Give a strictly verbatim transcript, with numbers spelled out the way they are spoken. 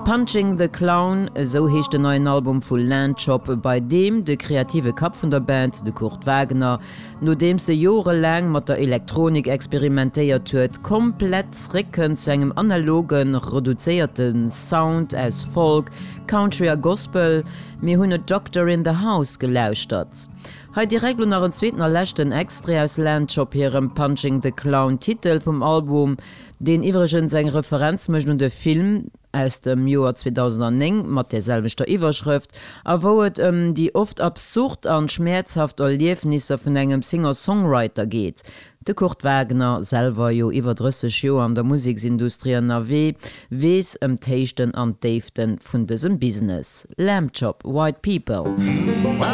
Punching the Clown, esou heescht den neien Album vu Lambchop, bei deem de kreative Kapp vun der Band, de Kurt Wagner, nodeems e jorelaang mat der Elektronik experimentéiert huet, komplett zréckkënnt zu engem analogen, reduzéierte Sound aus Folk, Country a Gospel. Mir hunn A Doctor in the House gelauschtert. Hei direkt lo nach en zweeten a leschten Extrait aus Lambchop hirem Punching the Clown, Titel vum Album, deen iwwregens eng Referenz mécht un de Film aus dem Joer zweedausendnéng mat där selwechter Iwwerschrëft, a wou et ëm déi oft absurd an schmäerzhaft Erliefnisser vun engem Singer-Songwriter geet. De Kurt Wagner, selwer jo iwwer drësseg Joer an der Museksindustrie ënnerwee, weess ëm d'Héichten an d'Déifte vun dësem Business. Lambchop, White People.